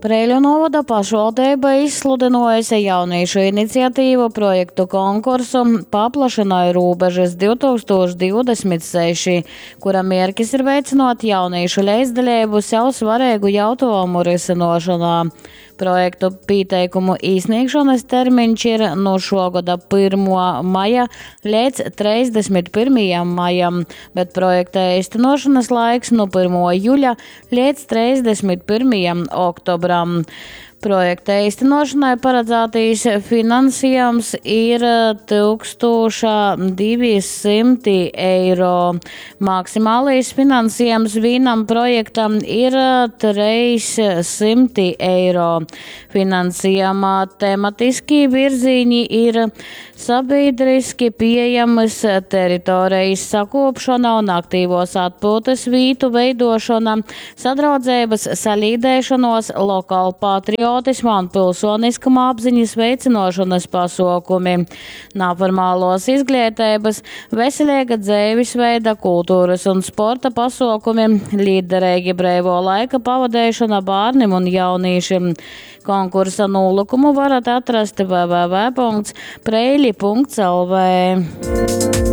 Preiļu nūvoda pašvaldeiba izsludynuojuse jaunīšu iniciatīvu projektu konkursu Paplašynoj rūbežys 2026, kura mierkis ir veicynuot jaunīšu leidzdaleibu sev svareigu jautuojumu rysynuošonā. Projektu pīteikumu īsnīgšonys termiņš ir nu šuo goda 1. maja leidz 31. majam, bet projekta eistynuošonys laiks nu 1. juļa leidz 31. oktobram. Projekta eistynuošonai paradzātais finansiejums ir 1200 eiro. Maksimālais finansiejums vīnam projektam ir 300 eiro. Finansiejuma tematiskī virzīņi ir sabīdriski pīejamys teritorejis sakūpšona un aktīvuos atpyutys vītu veiduošona, sadraudzeibys, salīdeišonuos, lokalpatriotisma un pilsoniskuma apziņas veicynuošonys pasuokumi, naformaluos izgleiteibys, veseleiga dzeivisveida, kulturys un sporta pasuokumi, lītdereigi breivuo laika pavadeišona bārnim un jaunīšim. Konkursa nūlykumu varat atrast www.preili.lv.